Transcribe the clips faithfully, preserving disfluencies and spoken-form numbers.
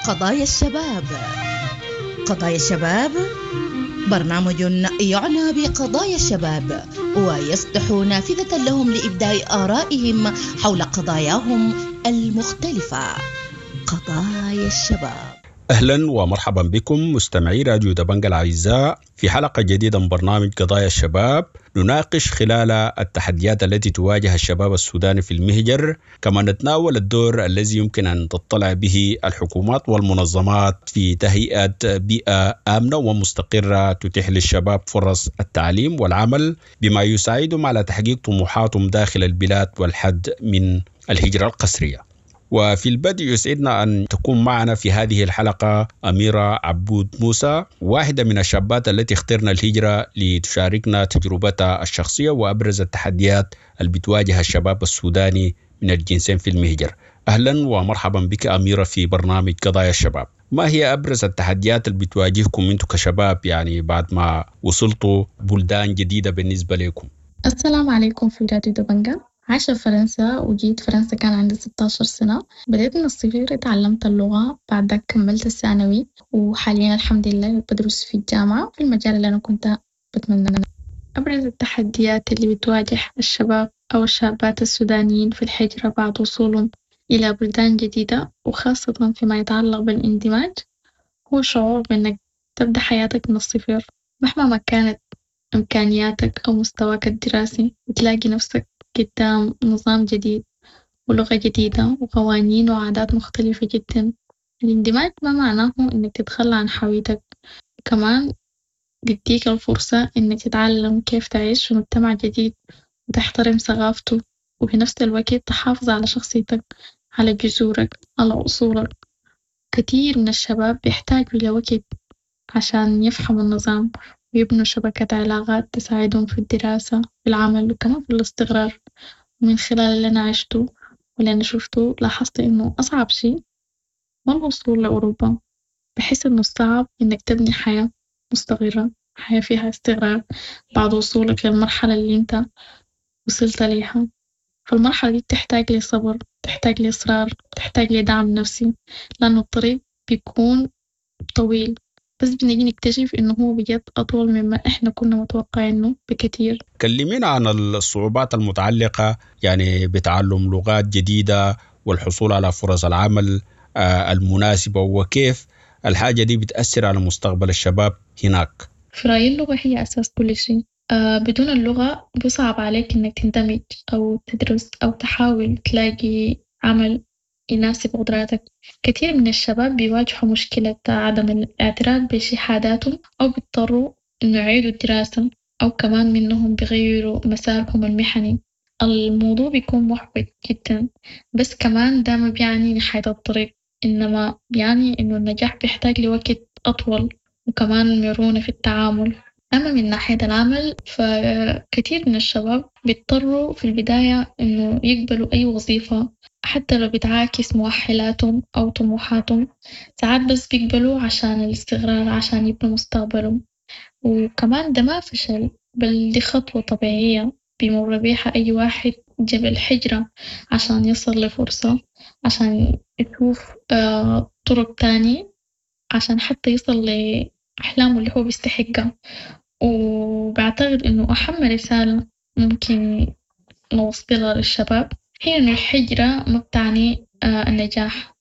قضايا الشباب. قضايا الشباب برنامج يعنى بقضايا الشباب ويفتح نافذة لهم لإبداء آرائهم حول قضاياهم المختلفة. قضايا الشباب. اهلا ومرحبا بكم مستمعي راديو دبنج الاعزاء في حلقه جديده من برنامج قضايا الشباب، نناقش خلال التحديات التي تواجه الشباب السوداني في المهجر، كما نتناول الدور الذي يمكن ان تطلع به الحكومات والمنظمات في تهيئه بيئه امنه ومستقره تتيح للشباب فرص التعليم والعمل بما يساعدهم على تحقيق طموحاتهم داخل البلاد والحد من الهجره القسريه. وفي البدء يسعدنا أن تكون معنا في هذه الحلقة أميرة عبود موسى، واحدة من الشابات التي اخترنا الهجرة لتشاركنا تجربتها الشخصية وأبرز التحديات اللي بتواجه الشباب السوداني من الجنسين في المهجر. أهلا ومرحبا بك أميرة في برنامج قضايا الشباب. ما هي أبرز التحديات اللي بتواجهكم أنتم كشباب يعني بعد ما وصلتوا بلدان جديدة بالنسبة لكم؟ السلام عليكم في راديو دبنجة. عايشة في فرنسا وجيت فرنسا كان عندي ستاشر سنة. بديت من الصفر، اتعلمت اللغة، بعد داك كملت الثانوي، وحاليا الحمد لله بدرس في الجامعة في المجال اللي أنا كنت بتمنى. أبرز التحديات اللي بتواجه الشباب أو الشابات السودانيين في الهجرة بعد وصولهم إلى بلدان جديدة وخاصة فيما يتعلق بالاندماج هو شعور بإنك تبدأ حياتك من الصفر مهما ما كانت إمكانياتك أو مستواك الدراسي بتلاقي نفسك قدام نظام جديد ولغة جديدة وقوانين وعادات مختلفة جداً. الاندماج ما معناه إنك تتخلى عن هويتك وكمان بيديك الفرصة إنك تتعلم كيف تعيش في مجتمع جديد وتحترم ثقافته وفي نفس الوقت تحافظ على شخصيتك على جذورك على أصولك. كتير من الشباب بيحتاجوا لوقت عشان يفهموا النظام ويبنوا شبكة علاقات تساعدهم في الدراسة في العمل وكمان في الاستقرار. ومن خلال الأنا عشتو والأنا شفتو لاحظت إنو أصعب شي ما الوصول لأوروبا بحس إنو الصعب إنك تبني حياة مستقرة حياة فيها استقرار بعد وصولك للمرحلة الإنت وصلت ليها، فالمرحلة دي بتحتاج لي صبر بتحتاج لي إصرار بتحتاج لي دعم نفسي لأنو الطريق بيكون طويل بس بنجي نكتشف إنو هو بجد أطول مما إحنا كنا متوقعينه بكتير. كلمينا عن الصعوبات المتعلقة يعني بتعلم لغات جديدة والحصول على فرص العمل المناسبة، وكيف الحاجة دي بتأثر على مستقبل الشباب هناك. في رأيي اللغة هي أساس كل شيء. آه بدون اللغة بصعب عليك إنك تندمج أو تدرس أو تحاول تلاقي عمل يناسب قدراتك. كتير من الشباب بيواجهوا مشكلة عدم الاعتراف بشهاداتهم أو بيضطروا إنه يعيدوا الدراسة أو كمان منهم بيغيروا مسارهم المهني. الموضوع بيكون محبط جدا، بس كمان ده ما بيعني نهاية الطريق، إنما بيعني إنه النجاح بيحتاج لوقت أطول وكمان مرونة في التعامل. أما من ناحية العمل فكتير من الشباب بيضطروا في البداية إنه يقبلوا أي وظيفة حتى لو بتعاكس مؤهلاتهم أو طموحاتهم، ساعات بس بيقبلوا عشان الاستقرار عشان يبنوا مستقبلهم. وكمان ده ما فشل بل دي خطوة طبيعية بيمر بيها أي واحد جا بالهجرة عشان يصل لفرصة، عشان يشوف طرق تاني، عشان حتى يصل لأحلامه اللي هو بيستحقها. وبعتقد إنه أهم رسالة ممكن نوصلها للشباب هي إنه الهجرة ما بتعني النجاح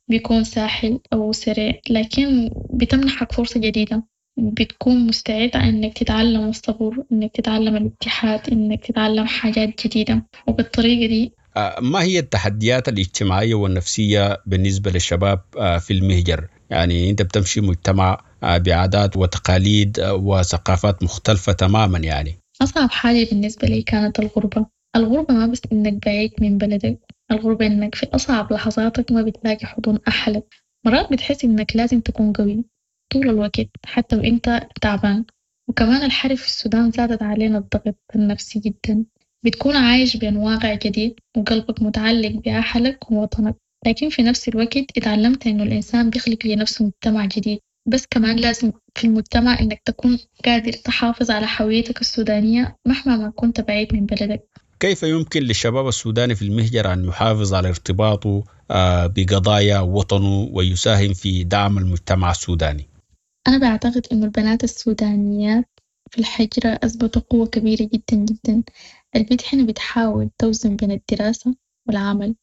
بيكون ساهل أو سريع، لكن بتمنحك فرصة جديدة، بتكون مستعد إنك تتعلم الصبر، إنك تتعلم الاتحاد، إنك تتعلم حاجات جديدة، وبالطريقة دي ما هي التحديات الاجتماعية والنفسية بالنسبة للشباب في المهجر؟ يعني أنت بتمشي مجتمع بعادات وتقاليد وثقافات مختلفة تماما. يعني أصعب حاجة بالنسبة لي كانت الغربة. الغربة ما بس إنك بعيد من بلدك، الغربة إنك في أصعب لحظاتك ما بتلاقي حضن أهلك. مرات بتحس إنك لازم تكون قوي طول الوقت حتى وإنت تعبان. وكمان الحرب في السودان زادت علينا الضغط النفسي جدا، بتكون عايش بين واقع جديد وقلبك متعلق بأهلك ووطنك، لكن في نفس الوقت اتعلمت إنه الإنسان بيخلق لنفسه مجتمع جديد، بس كمان لازم في المجتمع إنك تكون قادر تحافظ على هويتك السودانية مهما ما كنت بعيد من بلدك. كيف يمكن للشباب السوداني في المهجر أن يحافظ على ارتباطه آه، بقضايا وطنه ويساهم في دعم المجتمع السوداني؟ أنا بعتقد إنه البنات السودانيات في الحجرة أثبتوا قوة كبيرة جداً جداً، البت هنا بتحاول توزن بين الدراسة والعمل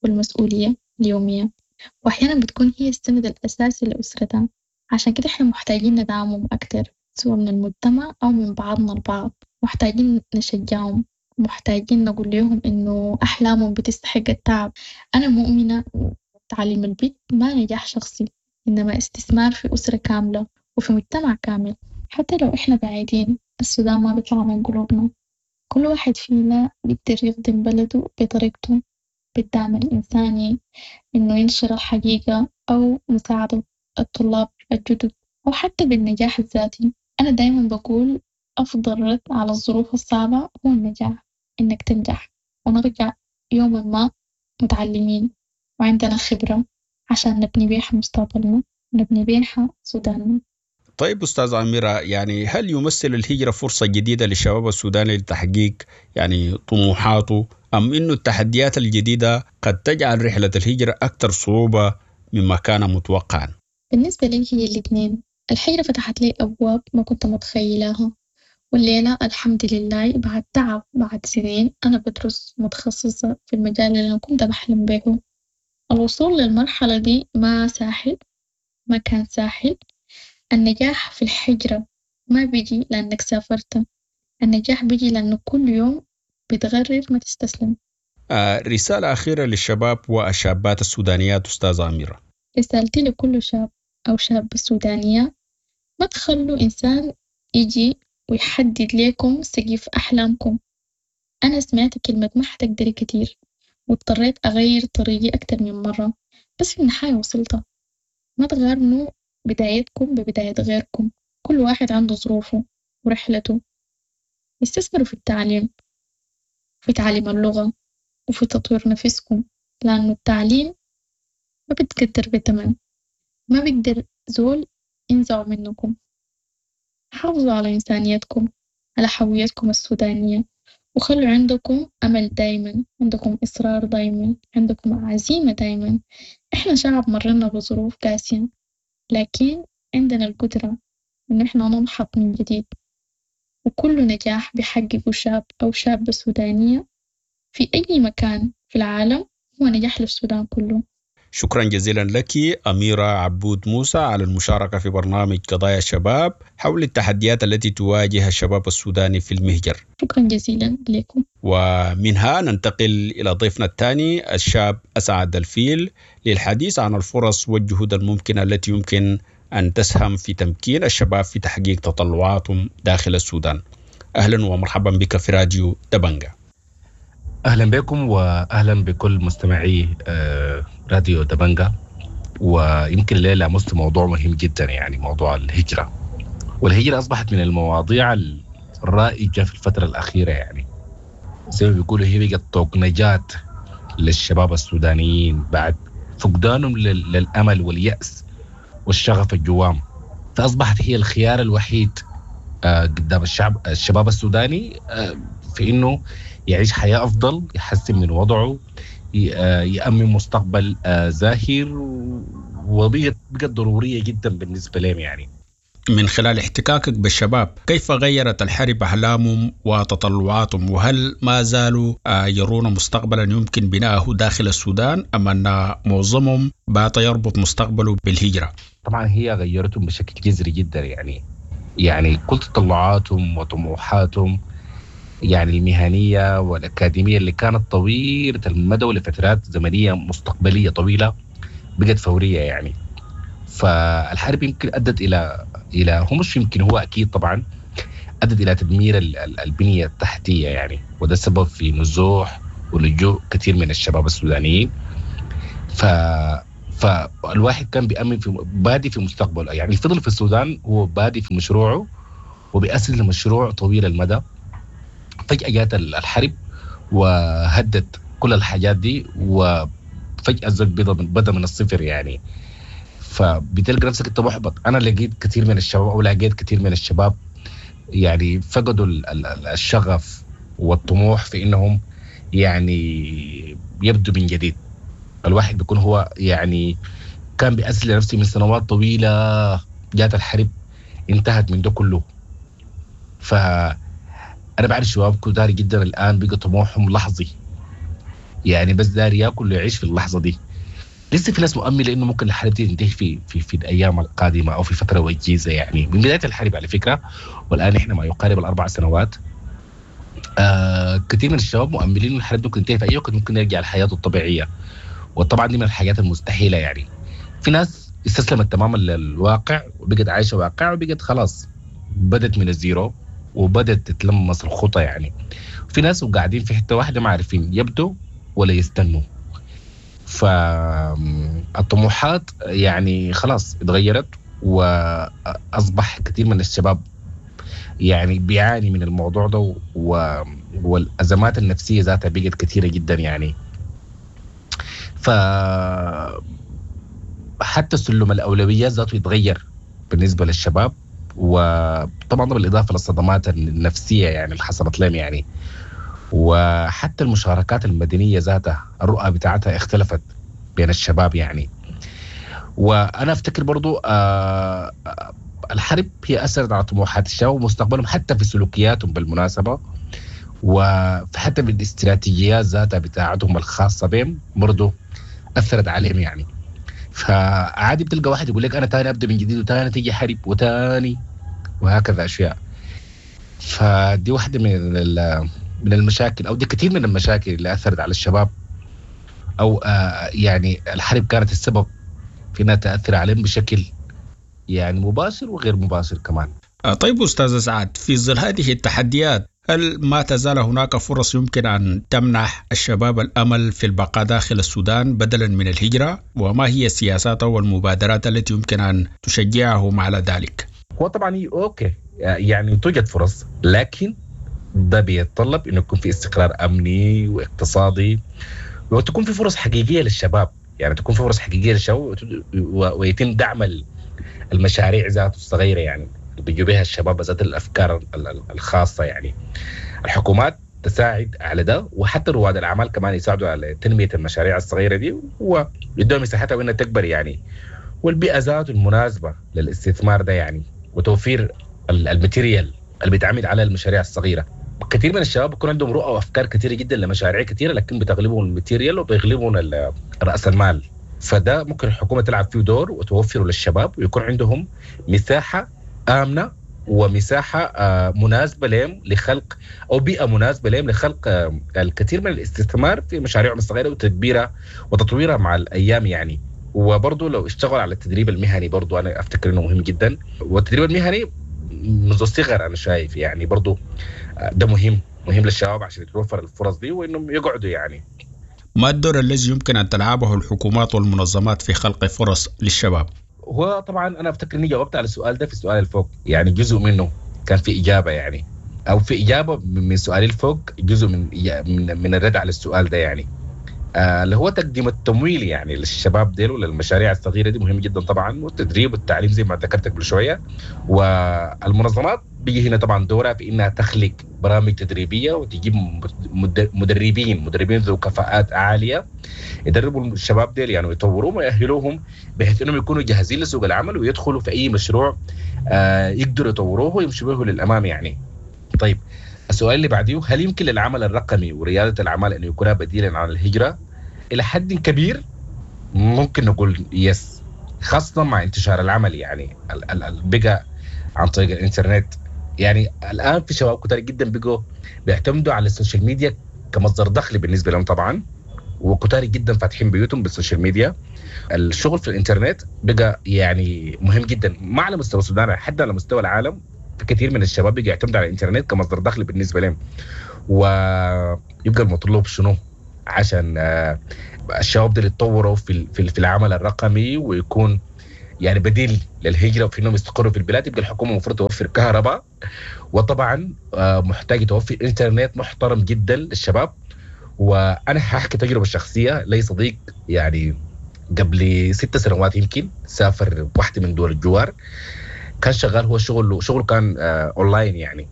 والمسؤولية اليومية وأحياناً بتكون هي السند الأساسي لأسرتها عشان كده إحنا محتاجين ندعمهم أكتر سوا من المجتمع أو من بعضنا البعض محتاجين نشجعهم محتاجين نقول ليهم إنو أحلامهم بتستحق التعب، أنا مؤمنة تعليم البت ما نجاح شخصي إنما استثمار في أسرة كاملة وفي مجتمع كامل حتى لو إحنا بعيدين السودان ما بيطلع من قلوبنا كل واحد فينا بيقدر يخدم بلده بطريقته بالدعم الإنساني إنه ينشر الحقيقة أو مساعدة الطلاب الجدد أو حتى بالنجاح الذاتي. أنا دايماً بقول أفضل رد على الظروف الصعبة هو النجاح، إنك تنجح ونرجع يوماً ما متعلمين وعندنا خبرة عشان نبني بيها مستقبلنا ونبني بيها سوداننا. طيب أستاذ أميرة، يعني هل يمثل الهجرة فرصة جديدة للشباب السوداني لتحقيق يعني طموحاته، أم إنه التحديات الجديدة قد تجعل رحلة الهجرة أكثر صعوبة مما كان متوقعا؟ بالنسبة لي هي الاثنين. الهجرة فتحت لي أبواب ما كنت متخيلها، والليلة الحمد لله بعد تعب بعد سنين أنا بدرس متخصصة في المجال اللي أنا كنت بحلم بيهو. الوصول للمرحلة دي ما ساحل، ما كان ساحل. النجاح في الحجرة ما بيجي لأنك سافرت، النجاح بيجي لأنه كل يوم بتغرر ما تستسلم. آه، رسالة أخيرة للشباب والشابات السودانيات أستاذة أميرة. رسالتي لكل شاب أو شابة سودانية: ما تخلوا إنسان يجي ويحدد لكم سقف أحلامكم. أنا سمعت كلمة ما حتقدري كتير واضطريت أغير طريقي أكتر من مرة، بس في النهاية وصلت. ما تغارنوا بدايتكم ببداية غيركم، كل واحد عنده ظروفه ورحلته. استثمروا في التعليم، في تعليم اللغة وفي تطوير نفسكم، لأنه التعليم ما بتقدر بتمن، ما بيقدر زول ينزعه منكم. حافظوا على إنسانيتكم، على هويتكم السودانية، وخلوا عندكم أمل دايما، عندكم إصرار دايما، عندكم عزيمة دايما. إحنا شعب مرينا بظروف قاسية، لكن عندنا القدرة إن إحنا ننهض من جديد. وكل نجاح بيحققه شاب أو شابة سودانية في أي مكان في العالم هو نجاح للسودان كله. شكرا جزيلا لك أميرة عبود موسى على المشاركة في برنامج قضايا الشباب حول التحديات التي تواجه الشباب السوداني في المهجر. شكرا جزيلا لكم. ومنها ننتقل إلى ضيفنا الثاني الشاب أسعد الفيل للحديث عن الفرص والجهود الممكنة التي يمكن أن تسهم في تمكين الشباب في تحقيق تطلعاتهم داخل السودان. أهلا ومرحبا بك في راديو دبنجة. أهلا بكم وأهلا بكل مستمعي راديو دبنجة. ويمكن الليلة لمست موضوع مهم جدا، يعني موضوع الهجرة. والهجرة أصبحت من المواضيع الرائجة في الفترة الأخيرة، يعني زي ما بيقولوا هي بقت طوق نجاة للشباب السودانيين بعد فقدانهم للأمل واليأس والشغف الجوام، فأصبحت هي الخيار الوحيد قدام الشعب الشباب السوداني في إنه يعيش حياة أفضل، يحسن من وضعه، يأمن مستقبل زاهر، وبقت ضرورية جدا بالنسبة لهم. يعني من خلال احتكاكك بالشباب، كيف غيرت الحرب أحلامهم وتطلعاتهم؟ وهل ما زالوا يرون مستقبلا يمكن بناءه داخل السودان، أم أن معظمهم بات يربط مستقبله بالهجرة؟ طبعا هي غيرتهم بشكل جذري جدا، يعني يعني كل تطلعاتهم وطموحاتهم يعني المهنية والأكاديمية اللي كانت طويلة المدى ولفترات زمنية مستقبلية طويلة بقت فورية. يعني فالحرب يمكن أدت إلى إلى هو مش يمكن هو أكيد طبعا أدت إلى تدمير البنية التحتية، يعني وده سبب في نزوح ولجوء كثير من الشباب السودانيين. ف فالواحد كان بيأمن في بادي في مستقبله، يعني فضل في السودان هو بادي في مشروعه وبيأسس لمشروع طويل المدى. فجأة جات الحرب وهدت كل الحاجات دي، وفجأة الزول بدأ من الصفر. يعني فبتلقى نفسك انت محبط. انا لقيت كثير من الشباب او لقيت كثير من الشباب يعني فقدوا الشغف والطموح في انهم يعني يبدو من جديد. الواحد بيكون هو يعني كان بيأسس لنفسه من سنوات طويلة، جات الحرب انتهت من ده كله. فأنا بعرف شباب كتار جدا الآن بقى طموحهم لحظي، يعني بس داري ياكل ويعيش في اللحظة دي. لسه في ناس مؤملة إنه ممكن الحرب دي تنتهي في في في الأيام القادمة أو في فترة وجيزة، يعني من بداية الحرب على فكرة، والآن إحنا ما يقارب الأربع سنوات. آه كثير من الشباب مؤملين إنه الحرب ممكن تنتهي في أي وقت، ممكن يرجع لحياته الطبيعية، وطبعا دي من الحاجات المستحيلة. يعني في ناس استسلمت تماما للواقع وبقت عايشة واقع، وبقت خلاص بدت من الزيرو وبدت تتلمس الخطى. يعني في ناس وقاعدين في حتة واحدة ما عارفين يبدوا ولا يستنوا. فالطموحات يعني خلاص اتغيرت، وأصبح كثير من الشباب يعني بيعاني من الموضوع ده، والأزمات النفسية ذاتها بقت كثيرة جدا يعني. ف حتى سلم الأولويات ذاته يتغير بالنسبة للشباب، وطبعا بالإضافة للصدمات النفسية يعني اللي حصلت لهم يعني. وحتى المشاركات المدنية ذاتها الرؤى بتاعتها اختلفت بين الشباب يعني. وأنا أفتكر برضو آه الحرب هي أثرت على طموحات الشباب ومستقبلهم، حتى في سلوكياتهم بالمناسبة، وحتى بالاستراتيجيات ذاتها بتاعتهم الخاصة بهم برضو أثرت عليهم يعني. فعادي بتلقى واحد يقول لك أنا تاني أبدأ من جديد، وتاني تيجي حرب، وتاني وهكذا أشياء. فدي واحدة من من المشاكل، أو دي كثير من المشاكل اللي أثرت على الشباب، أو آه يعني الحرب كانت السبب في أنها تأثر عليهم بشكل يعني مباشر وغير مباشر كمان. طيب أستاذ سعد، في ظل هذه التحديات هل ما تزال هناك فرص يمكن أن تمنح الشباب الأمل في البقاء داخل السودان بدلا من الهجرة؟ وما هي السياسات والمبادرات التي يمكن أن تشجعهم على ذلك؟ هو طبعا okay يعني توجد فرص، لكن ده بيتطلب إنه يكون في استقرار أمني واقتصادي، وتكون في فرص حقيقية للشباب، يعني تكون في فرص حقيقية للشباب ويتم دعم المشاريع ذاته الصغيرة يعني بيجوا بها الشباب ذات الأفكار الخاصة. يعني الحكومات تساعد على ده، وحتى رواد الأعمال كمان يساعدوا على تنمية المشاريع الصغيرة دي ويدوها مساحتها وإنها تكبر يعني، والبيئة ذاته المناسبة للاستثمار ده يعني، وتوفير ال material اللي بيتعمل على المشاريع الصغيرة. كثير من الشباب بيكون عندهم رؤى وأفكار كثيرة جدا لمشاريع كثيرة، لكن بتغلبهم ال material وبيغلبهم رأس المال. فده ممكن الحكومة تلعب فيه دور وتوفره للشباب، ويكون عندهم مساحة آمنة ومساحة مناسبة لهم لخلق، أو بيئة مناسبة لهم لخلق الكثير من الاستثمار في مشاريعهم الصغيرة وتدبيرها وتطويرها مع الأيام يعني. وبرضه لو اشتغل على التدريب المهني برضه أنا أفتكر إنه مهم جدا، والتدريب المهني منذ الصغر أنا شايف يعني برضه ده مهم مهم للشباب عشان يتوفر الفرص دي وإنهم يقعدوا يعني. ما الدور الذي يمكن أن تلعبه الحكومات والمنظمات في خلق فرص للشباب؟ هو طبعا انا افتكر اني جاوبت على السؤال ده في السؤال الفوق، يعني جزء منه كان في اجابه يعني، او في اجابه من سؤالي الفوق جزء من من, من الرد على السؤال ده يعني، آه اللي هو تقديم التمويل يعني للشباب ديل وللمشاريع الصغيرة دي مهم جدا طبعا، والتدريب والتعليم زي ما ذكرت قبل شوية. والمنظمات بيجي هنا طبعا دورها في انها تخلق برامج تدريبية وتجيب مدربين مدربين ذو كفاءات عالية يدربوا الشباب ديل يعني ويطوروهم ويأهلوهم بحيث انهم يكونوا جاهزين لسوق العمل ويدخلوا في اي مشروع آه يقدروا يطوروه ويمشوا به للامام يعني. طيب السؤال اللي بعديه، هل يمكن للعمل الرقمي ورياده الاعمال ان يكون بديلا عن الهجرة؟ الى حد كبير ممكن نقول yes، خاصة مع انتشار العمل يعني بقى عن طريق الانترنت. يعني الان في شباب كتير جدا بقوا بيعتمدوا على ال social media كمصدر دخل بالنسبة لهم طبعا، وكتار جدا فاتحين بيوتهم بال social media. الشغل في الانترنت بقى يعني مهم جدا، ما على مستوى السودان حتى على مستوى العالم. في كثير من الشباب بقى يعتمد على الانترنت كمصدر دخل بالنسبة لهم. ويبقى المطلوب شنو عشان الشباب دول يتطوروا في في العمل الرقمي ويكون يعني بديل للهجرة وفي انهم يستقروا في البلاد؟ يبقى الحكومة المفروض توفر كهرباء، وطبعا محتاج توفر انترنت محترم جدا للشباب. وانا هحكي تجربه شخصية لي صديق يعني قبل ست سنوات يمكن سافر واحدة من دول الجوار، كان شغال هو شغله شغله كان آه اونلاين يعني،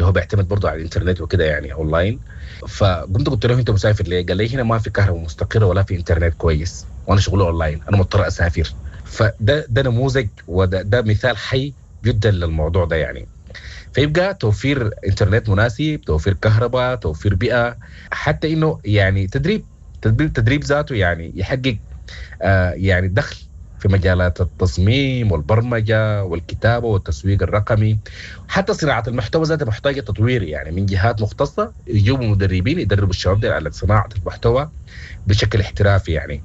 هو بيعتمد برضه على الانترنت وكده يعني اونلاين. فقمت قلت له انت مسافر ليه؟ قال لي هنا ما في كهرباء مستقره ولا في انترنت كويس، وانا شغلي اونلاين، انا مضطر اسافر. فده ده نموذج وده ده مثال حي جدا للموضوع ده يعني. فيبقى توفير انترنت مناسب، توفير كهرباء، توفير بيئة، حتى انه يعني تدريب تدريب تدريب ذاته يعني يحقق آه يعني دخل في مجالات التصميم والبرمجة والكتابة والتسويق الرقمي، حتى صناعة المحتوى ذاتها محتاجه تطوير يعني من جهات مختصة يجيبوا مدربين يدربوا الشباب دي على صناعة المحتوى بشكل احترافي يعني،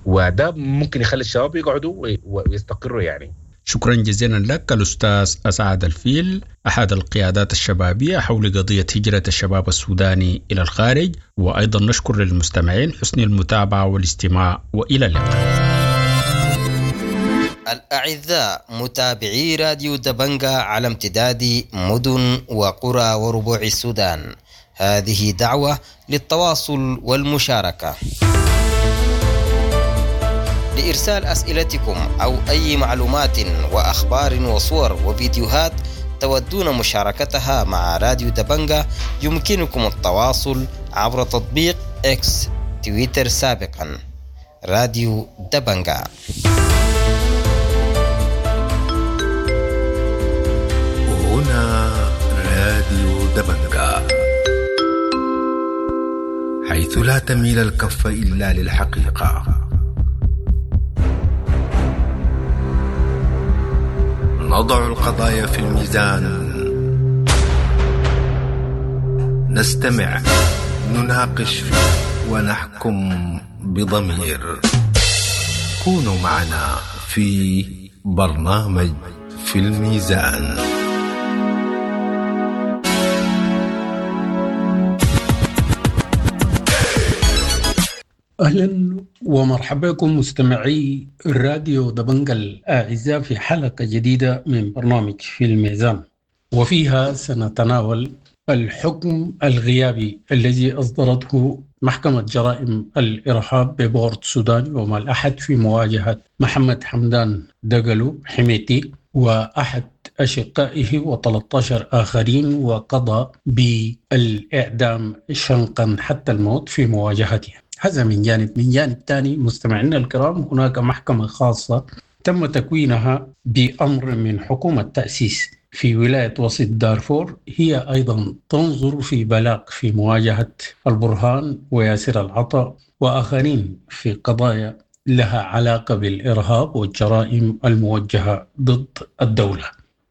وده ممكن يخلي الشباب يقعدوا ويستقروا يعني. شكرا جزيلا لك الأستاذ أسعد الفيل، أحد القيادات الشبابية حول قضية هجرة الشباب السوداني إلى الخارج، وأيضا نشكر للمستمعين حسن المتابعة والاستماع، وإلى اللقاء. الأعزاء متابعي راديو دبنجا على امتداد مدن وقرى وربوع السودان، هذه دعوة للتواصل والمشاركة. لإرسال أسئلتكم أو أي معلومات وأخبار وصور وفيديوهات تودون مشاركتها مع راديو دبنجا، يمكنكم التواصل عبر تطبيق إكس تويتر سابقا راديو دبنجا. هنا راديو دبنجا، حيث لا تميل الكف إلا للحقيقة. نضع القضايا في الميزان، نستمع، نناقش، ونحكم بضمير. كونوا معنا في برنامج في الميزان. أهلا ومرحبا بكم مستمعي راديو دبنجا الأعزاء في حلقة جديدة من برنامج في الميزان، وفيها سنتناول الحكم الغيابي الذي أصدرته محكمة جرائم الإرهاب ببورت السودان يوم الأحد في مواجهة محمد حمدان دقلو حميتي وأحد أشقائه وثلاثة عشر آخرين، وقضى بالإعدام شنقا حتى الموت في مواجهته. هذا من جانب. من جانب ثاني مستمعينا الكرام، هناك محكمة خاصة تم تكوينها بأمر من حكومة تأسيس في ولاية وسط دارفور، هي أيضا تنظر في بلاغ في مواجهة البرهان وياسر العطا وآخرين في قضايا لها علاقة بالإرهاب والجرائم الموجهة ضد الدولة.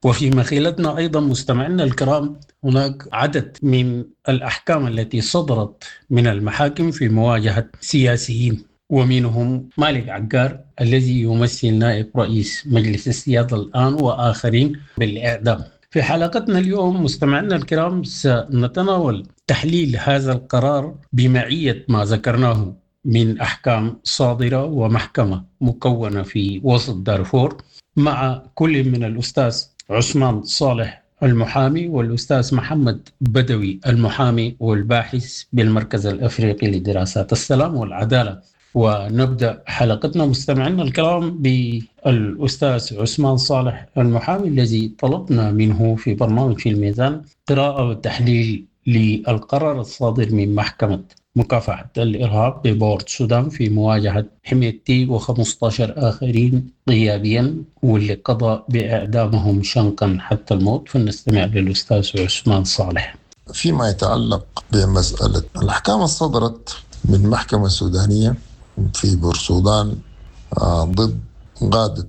وفي مخيلتنا أيضا مستمعينا الكرام هناك عدد من الأحكام التي صدرت من المحاكم في مواجهة سياسيين، ومنهم مالك عقار الذي يمثل نائب رئيس مجلس السيادة الآن وآخرين بالإعدام. في حلقتنا اليوم مستمعينا الكرام سنتناول تحليل هذا القرار بمعية ما ذكرناه من أحكام صادرة ومحكمة مكونة في وسط دارفور، مع كل من الأستاذ عثمان صالح المحامي والأستاذ محمد بدوي المحامي والباحث بالمركز الأفريقي لدراسات السلام والعدالة. ونبدأ حلقتنا مستمعينا الكرام بالأستاذ عثمان صالح المحامي الذي طلبنا منه في برنامج في الميزان قراءة وتحليل للقرار الصادر من محكمة مكافحة الإرهاب ببورت السودان في مواجهة حميدتي وخمسة عشر آخرين غيابيا واللي قضى بإعدامهم شنقا حتى الموت. فلنستمع للأستاذ عثمان صالح. فيما يتعلق بمسألة الأحكام الصدرت من محكمة سودانية في بورسودان ضد قادة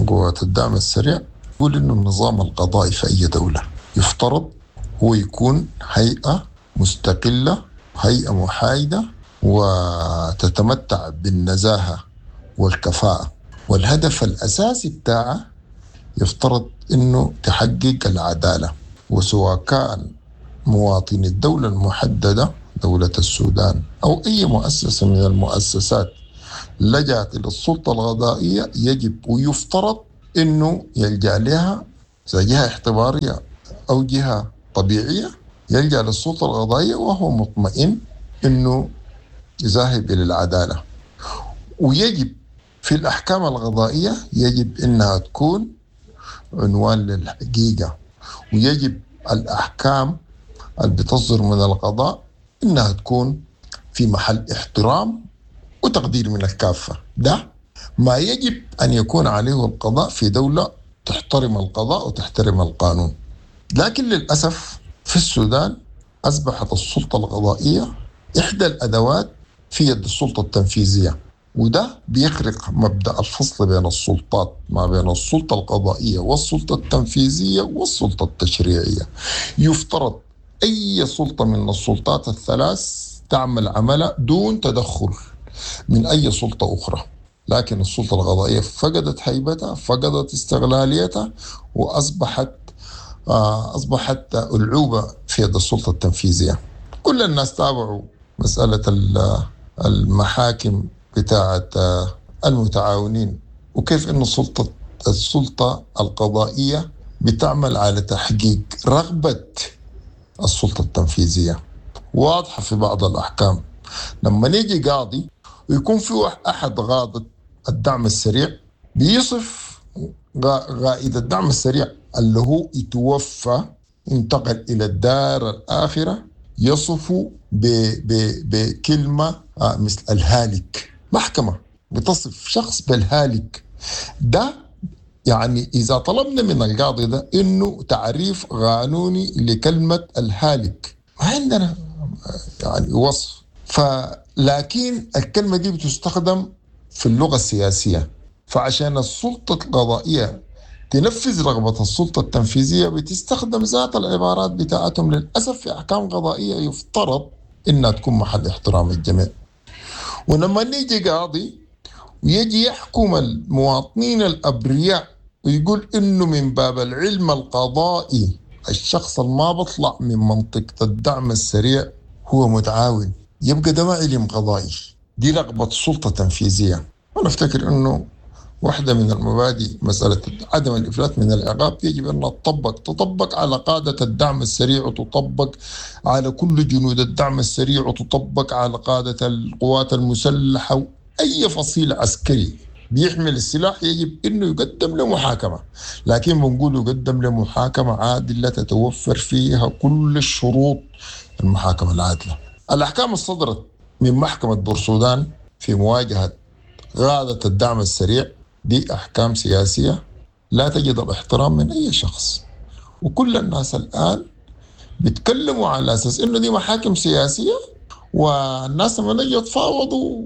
قوات الدعم السريع، يقول إنه النظام القضائي في أي دولة يفترض هو يكون هيئة مستقلة، هيئة محايدة، وتتمتع بالنزاهة والكفاءة، والهدف الأساسي بتاعها يفترض إنه تحقق العدالة، وسواء كان مواطن الدولة المحددة دولة السودان أو أي مؤسسة من المؤسسات لجأت إلى السلطة القضائية يجب ويفترض إنه يلجأ لها إذا جهة اعتبارية أو جهة طبيعية، يلجأ للسلطة القضائية وهو مطمئن إنه ذاهب إلى العدالة. ويجب في الأحكام القضائية يجب إنها تكون عنوان للحقيقة، ويجب الأحكام اللي بتصدر من القضاء إنها تكون في محل احترام وتقدير من الكافة. ده ما يجب أن يكون عليه القضاء في دولة تحترم القضاء وتحترم القانون. لكن للأسف في السودان أصبحت السلطة القضائية إحدى الأدوات في يد السلطة التنفيذية، وده بيخرق مبدأ الفصل بين السلطات، ما بين السلطة القضائية والسلطة التنفيذية والسلطة التشريعية. يفترض أي سلطة من السلطات الثلاث تعمل عملها دون تدخل من أي سلطة أخرى، لكن السلطة القضائية فقدت هيبتها، فقدت استغلاليتها، وأصبحت أصبحت ألعوبة في يد السلطة التنفيذية. كل الناس تابعوا مسألة المحاكم بتاعة المتعاونين، وكيف إن السلطة السلطة القضائية بتعمل على تحقيق رغبة السلطة التنفيذية. واضحة في بعض الأحكام لما يجي قاضي ويكون في أحد قاضي الدعم السريع بيصف قائد الدعم السريع اللي هو يتوفى انتقل إلى الدار الآخرة، يصفه بكلمة مثل الهالك. محكمة بتصف شخص بالهالك ده، يعني إذا طلبنا من القاضي ده إنه تعريف قانوني لكلمة الهالك ما عندنا يعني وصف. فلكن الكلمة دي بتستخدم في اللغة السياسية، فعشان السلطة القضائية تنفذ رغبة السلطة التنفيذية بتستخدم ذات العبارات بتاعتهم للأسف في أحكام قضائية يفترض إنها تكون محل احترام الجميع. ولما نيجي قاضي ويجي يحكم المواطنين الأبرياء ويقول إنه من باب العلم القضائي الشخص ما بطلع من منطقة الدعم السريع هو متعاون، يبقى ده ما علم قضائي، دي رغبة سلطة تنفيذية. أنا أفتكر إنه واحدة من المبادئ مسألة عدم الإفلات من العقاب يجب أن تطبق تطبق على قادة الدعم السريع، وتطبق على كل جنود الدعم السريع، وتطبق على قادة القوات المسلحة. أي فصيل عسكري بيحمل السلاح يجب أنه يقدم لمحاكمة، لكن بنقول يقدم لمحاكمة عادلة تتوفر فيها كل الشروط المحاكمة العادلة. الأحكام الصدرت من محكمة بورسودان في مواجهة قادة الدعم السريع دي أحكام سياسية لا تجد الاحترام من أي شخص، وكل الناس الآن بيتكلموا على أساس إنه دي محاكم سياسية، والناس لما يجوا يتفاوضوا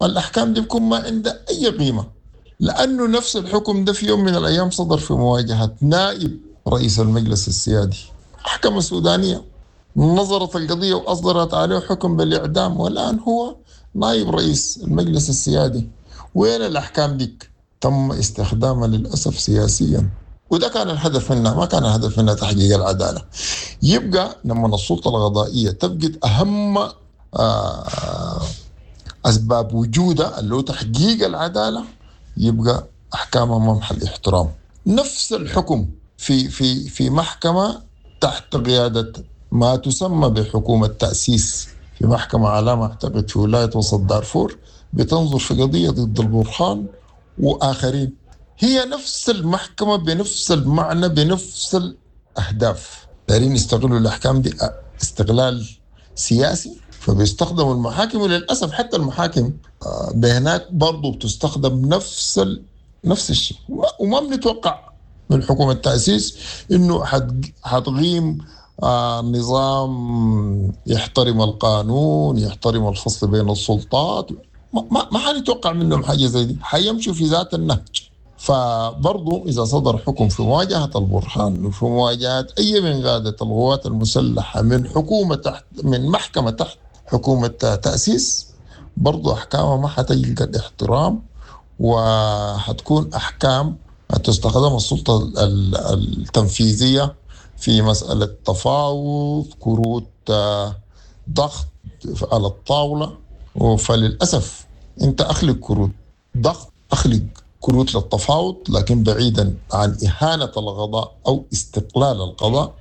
الأحكام دي بيكون ما عندها أي قيمة، لأنه نفس الحكم ده في يوم من الأيام صدر في مواجهة نائب رئيس المجلس السيادي، محكمة سودانية نظرت القضية وأصدرت عليه حكم بالإعدام، والآن هو نائب رئيس المجلس السيادي. وين الأحكام ديك؟ تم استخدامها للأسف سياسيا، وده كان الهدف منها، ما كان الهدف منها تحقيق العدالة. يبقى لما السلطة القضائية تفقد أهم أسباب وجودها اللي هو تحقيق العدالة، يبقى أحكامها ما محل احترام. نفس الحكم في في في محكمة تحت قيادة ما تسمى بحكومة تأسيس، في محكمة على ما أعتقد في ولاية وسط دارفور بتنظر في قضية ضد البرهان وآخرين، هي نفس المحكمة بنفس المعنى بنفس الأهداف. دارين يستغلوا الأحكام دي استغلال سياسي، فبيستخدموا المحاكم، وللأسف حتى المحاكم بهناك برضو بتستخدم نفس ال... نفس الشيء. وما بنتوقع من حكومة التأسيس إنه حتقيم آه نظام يحترم القانون، يحترم الفصل بين السلطات، ما ما حنتوقع منهم حاجة زي دي، حيمشوا في ذات النهج. فبرضو إذا صدر حكم في مواجهة البرهان وفي مواجهة أي من قادة القوات المسلحة من حكومة تحت من محكمة تحت حكومة تأسيس، برضو أحكامها ما حتلقى الاحترام، وحتكون أحكام تستخدم السلطة التنفيذية في مسألة تفاوض، كروت ضغط على الطاولة. فللأسف أنت أخلق كروت ضغط، أخلق كروت للتفاوض، لكن بعيدا عن إهانة القضاء أو استقلال القضاء،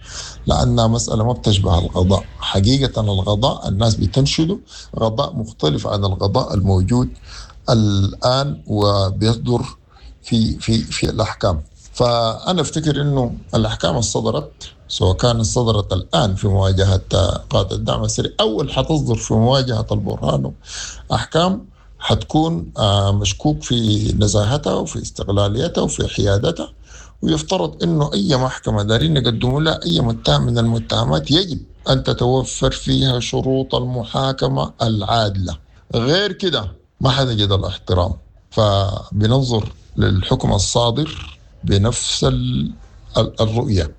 لأنها مسألة ما بتشبه القضاء حقيقة. القضاء الناس بتنشده قضاء مختلف عن القضاء الموجود الآن وبيصدر في في في الأحكام. فأنا أفتكر إنه الأحكام الصدرت سواء كانت صدرت الآن في مواجهة قادة الدعم السريع أو اللي حتصدر في مواجهة البرهان، أحكام حتكون مشكوك في نزاهتها وفي استقلاليتها وفي حيادتها. ويفترض أنه أي محكمة دارين يقدموا لها أي متهم من المتهمات يجب أن تتوفر فيها شروط المحاكمة العادلة، غير كده ما حنجد الاحترام. فبننظر للحكم الصادر بنفس الرؤية.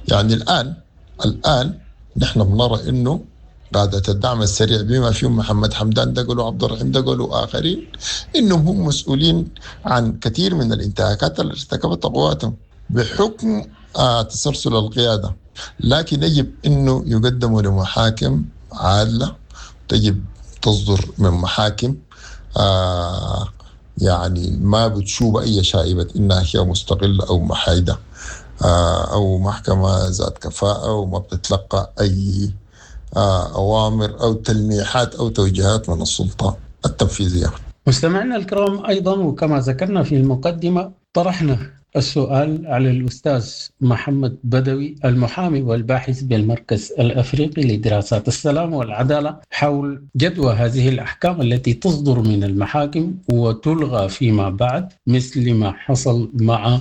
يعني الآن الآن نحن بنرى أنه قادة الدعم السريع بما فيهم محمد حمدان دقلو وعبد الرحيم دقلو وآخرين إنهم هم مسؤولين عن كثير من الانتهاكات التي ارتكبتها قواتهم بحكم آه تسلسل القيادة، لكن يجب أنه يقدموا لمحاكم عادلة، تجب تصدر من محاكم آه يعني ما بتشوب أي شائبة إنها هي مستقلة أو محايدة آه أو محكمة ذات كفاءة وما بتتلقى أي أوامر أو تلميحات أو توجيهات من السلطة التنفيذية. مستمعينا الكرام، أيضا وكما ذكرنا في المقدمة طرحنا السؤال على الأستاذ محمد بدوي المحامي والباحث بالمركز الأفريقي لدراسات السلام والعدالة حول جدوى هذه الأحكام التي تصدر من المحاكم وتلغى فيما بعد، مثل ما حصل مع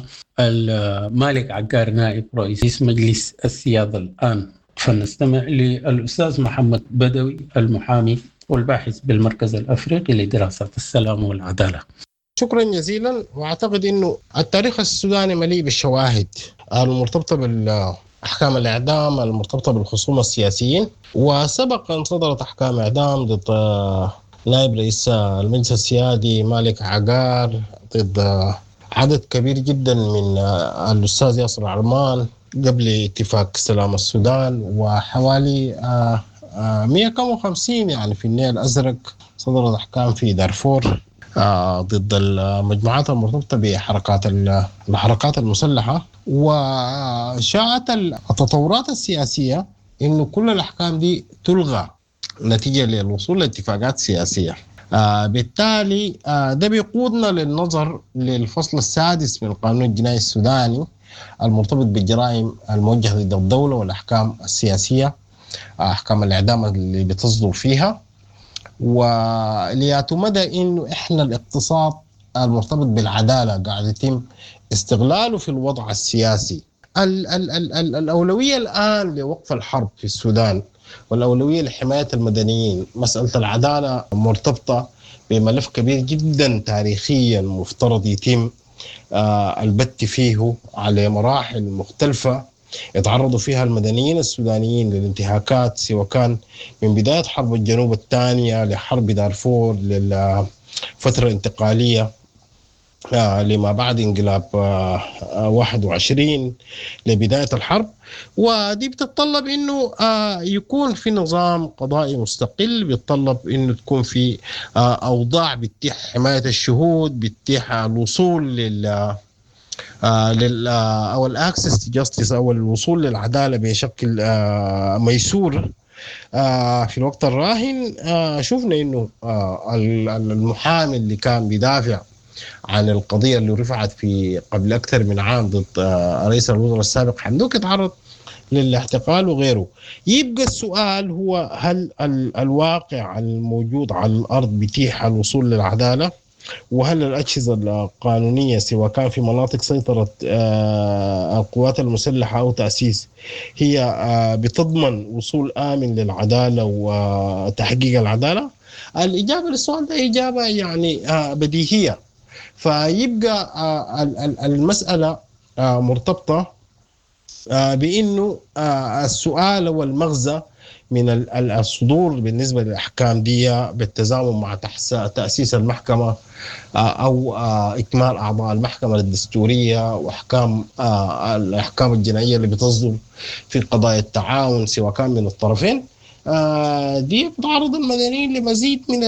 مالك عقار نائب رئيس مجلس السيادة الآن. فنستمع للأستاذ محمد بدوي المحامي والباحث بالمركز الأفريقي لدراسات السلام والعدالة. شكرا جزيلا. واعتقد انه التاريخ السوداني مليء بالشواهد المرتبطه بالاحكام الاعدام المرتبطه بالخصوم السياسيين، وسبق ان صدرت احكام اعدام ضد نائب رئيس المجلس السيادي مالك عقار، ضد عدد كبير جدا من الاستاذ ياسر عرمان قبل اتفاق سلام السودان، وحوالي مئة وخمسين يعني في النيل الازرق صدرت احكام في دارفور ضد المجموعات المرتبطة بحركات الحركات المسلحة. وشاءت التطورات السياسية إنه كل الأحكام دي تلغى نتيجة للوصول لاتفاقات سياسية. بالتالي ده بيقودنا للنظر للفصل السادس من القانون الجنائي السوداني المرتبط بالجرائم الموجهة ضد الدولة والأحكام السياسية، أحكام الإعدام اللي بتصدر فيها، ولياتو مدى انه احنا الاقتصاد المرتبط بالعداله قاعد يتم استغلاله في الوضع السياسي. ال ال ال ال الاولويه الان لوقف الحرب في السودان والاولويه لحمايه المدنيين. مساله العداله مرتبطه بملف كبير جدا تاريخيا مفترض يتم آه البت فيه على مراحل مختلفه يتعرضوا فيها المدنيين السودانيين للانتهاكات، سواء كان من بداية حرب الجنوب الثانية لحرب دارفور للفترة الانتقالية لما بعد انقلاب واحد وعشرين لبداية الحرب. ودي بتتطلب انه يكون في نظام قضائي مستقل، بيتطلب انه تكون في اوضاع بتتيح حماية الشهود، بتتيح الوصول لل آه لل او ال access to justice او الوصول للعداله بشكل آه ميسور. آه في الوقت الراهن آه شفنا انه آه المحامي اللي كان بيدافع عن القضيه اللي رفعت في قبل اكثر من عام ضد آه رئيس الوزراء السابق حمدوك اتعرض للاعتقال وغيره. يبقى السؤال هو هل الواقع الموجود على الارض بيتيح الوصول للعداله؟ وهل الأجهزة القانونية سواء كان في مناطق سيطرة القوات المسلحة أو تأسيس هي بتضمن وصول آمن للعدالة وتحقيق العدالة؟ الإجابة للسؤال ده إجابة يعني بديهية. فيبقى المسألة مرتبطة بأنه السؤال والمغزى من الصدور بالنسبة للأحكام دي بالتزامن مع تأسيس المحكمة أو إكمال أعضاء المحكمة الدستورية وأحكام الأحكام الجنائية اللي بتصدر في قضايا التعاون سواء كان من الطرفين، دي بتعرض المدنيين لمزيد من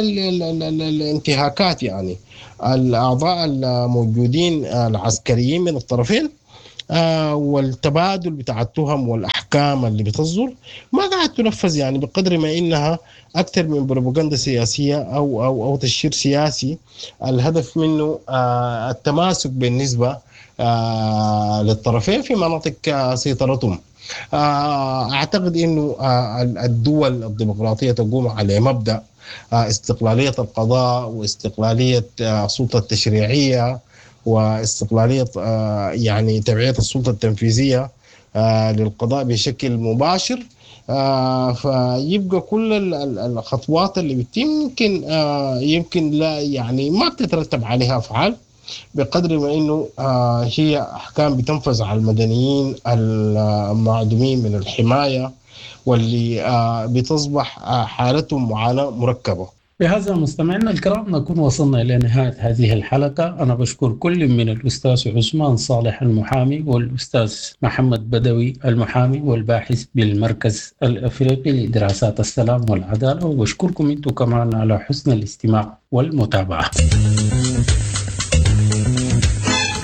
الانتهاكات. يعني الأعضاء الموجودين العسكريين من الطرفين آه والتبادل بتاع التهم والأحكام اللي بتصدر ما قاعد تنفذ، يعني بقدر ما إنها أكثر من بروباغندا سياسية أو أو أو تشهير سياسي الهدف منه آه التماسك بالنسبة آه للطرفين في مناطق سيطرتهم. أعتقد أنه الدول الديمقراطية تقوم على مبدأ استقلالية القضاء واستقلالية السلطة التشريعية واستقلالية يعني تبعية السلطة التنفيذية للقضاء بشكل مباشر. فيبقى كل الخطوات اللي بتتم يمكن يمكن لا يعني ما بتترتب عليها أفعال بقدر ما انه هي احكام بتنفذ على المدنيين المعدومين من الحمايه واللي بتصبح حالتهم معاناه مركبه. بهذا مستمعينا الكرام نكون وصلنا الى نهايه هذه الحلقه. انا بشكر كل من الاستاذ عثمان صالح المحامي والاستاذ محمد بدوي المحامي والباحث بالمركز الافريقي لدراسات السلام والعداله، وبشكركم انتم كمان على حسن الاستماع والمتابعه.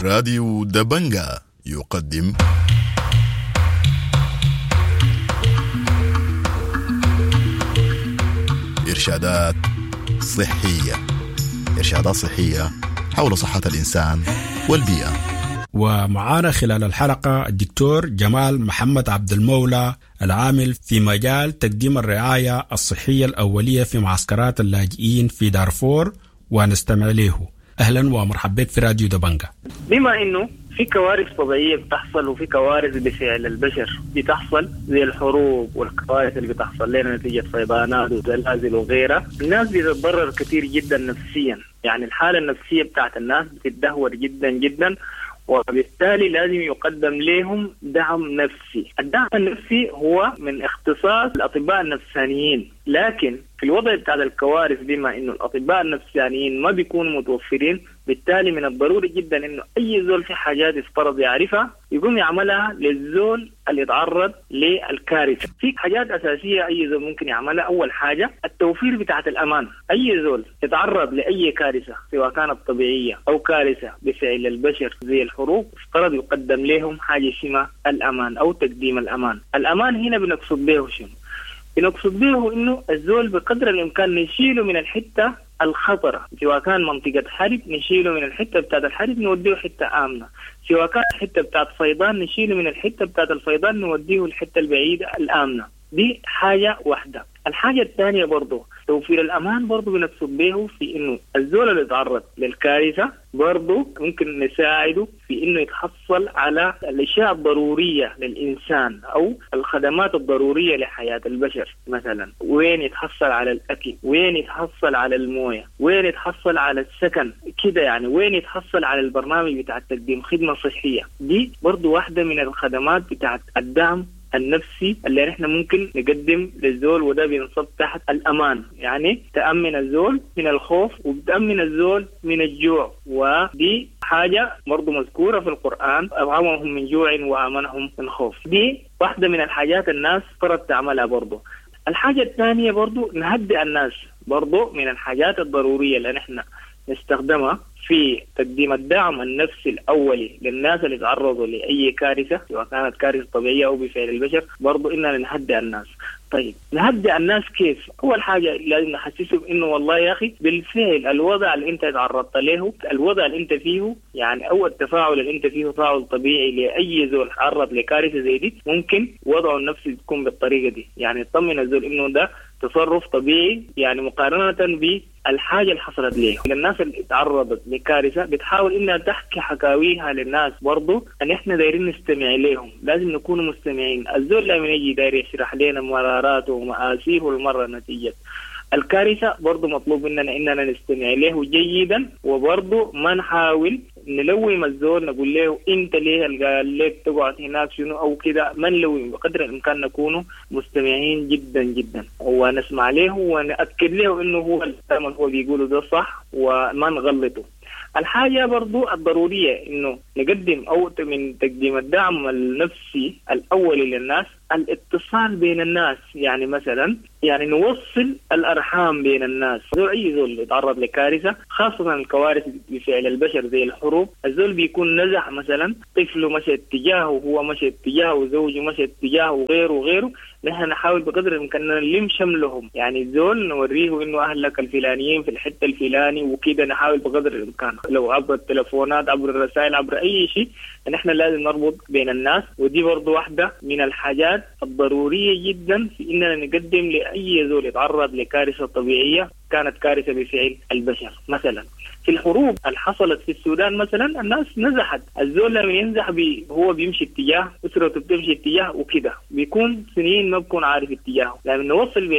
راديو دبنجا يقدم إرشادات صحية، إرشادات صحية حول صحة الإنسان والبيئة. ومعانا خلال الحلقة الدكتور جمال محمد عبد المولى العامل في مجال تقديم الرعاية الصحية الأولية في معسكرات اللاجئين في دارفور، ونستمع له. اهلا ومرحبا بك في راديو دبنجا. بما انه في كوارث طبيعيه بتحصل وفي كوارث بفعل البشر بتحصل زي الحروب والكوارث اللي بتحصل لنا نتيجه فيضانات وزلازل وغيرها، الناس بتتضرر كثير جدا نفسيا، يعني الحاله النفسيه بتاعت الناس بتتدهور جدا جدا، وبالتالي لازم يقدم لهم دعم نفسي. الدعم النفسي هو من اختصاص الأطباء النفسانيين، لكن في الوضع بتاع الكوارث بما إنه الأطباء النفسانيين ما بيكونوا متوفرين، بالتالي من الضروري جدا إنه أي زول في حاجات يفترض يعرفها يقوم يعملها للزول اللي يتعرض للكارثة. في حاجات أساسية أي زول ممكن يعملها. أول حاجة التوفير بتاعة الأمان. أي زول يتعرض لأي كارثة سواء كانت طبيعية أو كارثة بفعل البشر زي الحروب، افترض يقدم لهم حاجة اسمها الأمان أو تقديم الأمان. الأمان هنا بنقصد به شنو؟ بنقصد به إنه الزول بقدر الإمكان نشيله من الحتة الخطرة، سواء كان منطقة حرب نشيله من الحتة بتاعت الحرب نوديه حتة آمنة، سواء كان حتة بتاعت فيضان نشيله من الحتة بتاعت الفيضان نوديه الحتة البعيدة الآمنة. دي حاجة واحدة. الحاجة الثانية برضو توفير الأمان برضو بنقصد به في إنه الزول اللي يتعرض للكارثة برضو ممكن نساعده في إنه يتحصل على الأشياء الضرورية للإنسان أو الخدمات الضرورية لحياة البشر. مثلا وين يتحصل على الأكل، وين يتحصل على الموية، وين يتحصل على السكن كده، يعني وين يتحصل على البرنامج بتاع تقديم خدمة صحية. دي برضو واحدة من الخدمات بتاعت الدعم النفسي اللي نحن ممكن نقدم للزول، وده بينصب تحت الأمان، يعني تأمن الزول من الخوف وبتأمن الزول من الجوع. ودي حاجة برضو مذكورة في القرآن، أطعمهم من جوع وآمنهم من خوف. دي واحدة من الحاجات الناس فرض تعملها برضو. الحاجة الثانية برضو نهدئ الناس، برضو من الحاجات الضرورية اللي نحن نستخدمها في تقديم الدعم النفسي الأولي للناس اللي تعرضوا لأي كارثة سواء كانت كارثة طبيعية أو بفعل البشر، برضو إننا نهدئ الناس. طيب نهدئ الناس كيف؟ أول حاجة لازم نحسسهم إنه والله يا أخي بالفعل الوضع اللي أنت تعرضت له، الوضع اللي أنت فيه، يعني أو التفاعل اللي أنت فيه تفاعل طبيعي لأي زول تعرض لكارثة زي دي، ممكن وضعه النفسي تكون بالطريقة دي، يعني يطمن الزول إنه ده تصرف طبيعي، يعني مقارنة بالحاجة اللي حصلت ليه. للناس اللي تعرضت لكارثة بتحاول إنها تحكي حكاويها للناس، برضو أن إحنا دايرين نستمع لهم، لازم نكون مستمعين. الزول لما يجي داير يشرح لنا مراراته ومآسيه والمرة نتيجة الكارثة، برضو مطلوب مننا إننا نستمع له جيدا، وبرضو ما نحاول نلوم الزول نقول له أنت ليه قال لك تقعد هناك شنو أو كده، ما نلوم، بقدر الإمكان نكون مستمعين جدا جدا ونسمع له ونأكد له إنه هو الكلام اللي هو بيقوله ده صح وما نغلطه. الحاجة برضو الضرورية إنه نقدم أو من تقديم الدعم النفسي الأولي للناس الاتصال بين الناس، يعني مثلا يعني نوصل الأرحام بين الناس. زول أي زول يتعرض لكارثة، خاصة الكوارث بفعل البشر زي الحروب، الزول بيكون نزح مثلا، طفله مشى اتجاهه وهو مشى اتجاهه وزوجه مشى اتجاهه وغيره وغيره. نحن نحاول بقدر الإمكان نلم شملهم، يعني الزول نوريه إنه أهلك الفلانيين في الحتة الفلاني وكده، نحاول بقدر الإمكان لو عبر التلفونات عبر الرسائل عبر أي شيء، نحن لازم نربط بين الناس. ودي برضو واحدة من الحاجات الضرورية جدا في إننا نقدم لأي زول يتعرض لكارثة طبيعية كانت كارثة بفعل البشر. مثلا في الحروب اللي حصلت في السودان مثلا الناس نزحت، الزول لما ينزح بي هو بيمشي اتجاه، أسرته بتمشي اتجاه وكده، بيكون سنين ما بيكون عارف اتجاهه. لما نوصل بين